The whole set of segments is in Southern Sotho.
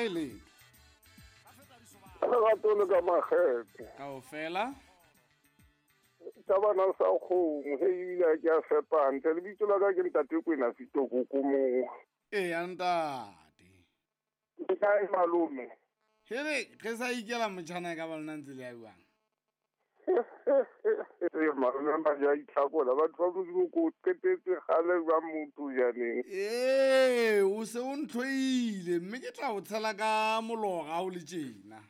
Ha e letho. Lerato le ka makgethe. Kaofela. Tsa bana sa kgomo, he ebile ha ke a fepa hantle. Lebitso la ka ke ntate Kwena Fitokoko moo. Eya ntate. Ke kae malome? Hele, re sa ikela motjhana e ka ba lona ntse le ya jwang? Ee, malome ba ja itlhakola. Batho ba Modimo ko qetetse kgale jwang motho janeng. Ee, o se o ntlhoile mme ke tla o tshela ka molora ha o le tjena.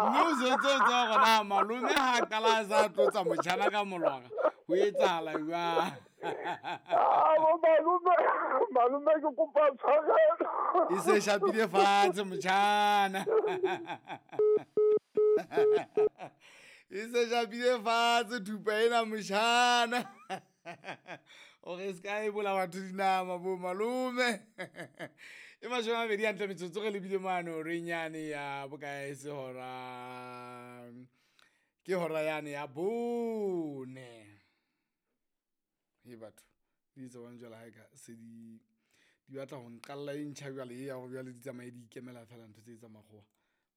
Mme o setse o tseba hore na malome ha a qala a sa tlotsa motjhana ka molora, ho etsahala jwang? Ah, bo malome, malome ke kopa tshwarelo. E se shapile fatshe motjhana. E se shapile fatshe thupa ena motjhana. Ore se ka e bola batho dinama bo malome. E 20 hantle metsotso re lebile mane horeng yane ya bokae se hora. Ke hora yane ya 4. He batho, di etsa jwang jwale ha e ka se di batla ho nqalla e ntjha jwale e ya hore jwale di tsamaye di ikemela fela ntho tse tsa makgowa.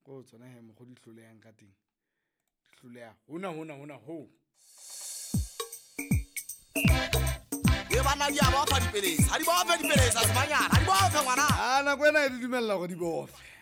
Ko tsona he mokgwa di hlolehang ka teng. Di hloleha hona hona hona ho. E bana di a bofa dipelesa, ha di bofe dipelesa, sebanyana, ha di bofe ngwana. A nako ena e di dumella hore di bofe.